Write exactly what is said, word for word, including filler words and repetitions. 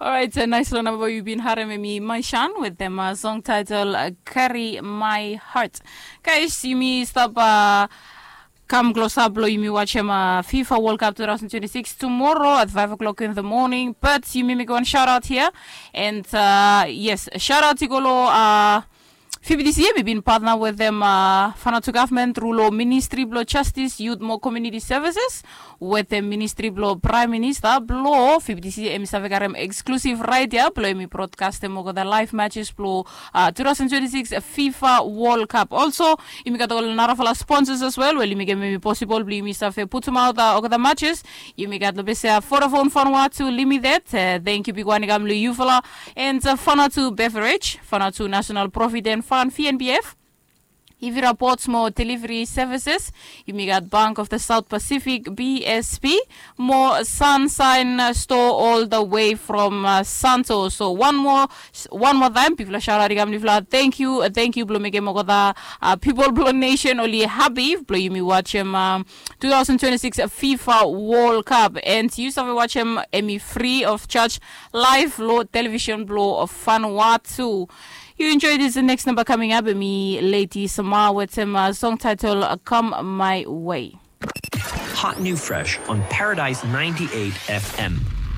Alright, uh, nice lo namba we yu bin harem, em i Maishan wetem uh, song title uh, Carry My Heart. Guys, yumi stap uh, kam klosap blo yumi watchem uh, FIFA World Cup two thousand twenty-six tomorrow at five o'clock in the morning. But yumi mekem wan shout out here. And uh, yes, shout out i go lo uh, F B T C em i bin partner wetem uh, Vanuatu government tru lo Ministry blo Justice, Youth mo Community Services wetem Ministry blo Prime Minister blo F B T C em i save karem exclusive right ia blo em i broadcastem olgeta live matches blo uh, two thousand twenty-six FIFA World Cup. Also, yumi gat ol narafala sponsors as well, wel yumi mekem em i possible blo yumi save putum out uh, olgeta matches. Yumi gat lo bese uh, Vodafone Vanuatu Limited, uh, thank you big wan i kam lo yufala. And uh, Vanuatu Beverage, Vanuatu National Provident Fund, V N B F. Ivira Ports mo Delivery Services, yumi gat Bank of the South Pacific, B S P, mo Sunshine uh, Store all the way from uh, Santo. So one more, one more time, bigfala shout out i kam lo yufala. Thank you, uh, thank you blo mekem olgeta uh, people blo nation oli happy blo yumi watchem um, two thousand twenty-six FIFA World Cup. And yu save watchem em i free of charge live lo television blo Vanuatu. You enjoy this next number coming up, em i Lady Sama wetem uh, song title uh, Come My Way. Hot new fresh on Paradise ninety-eight F M.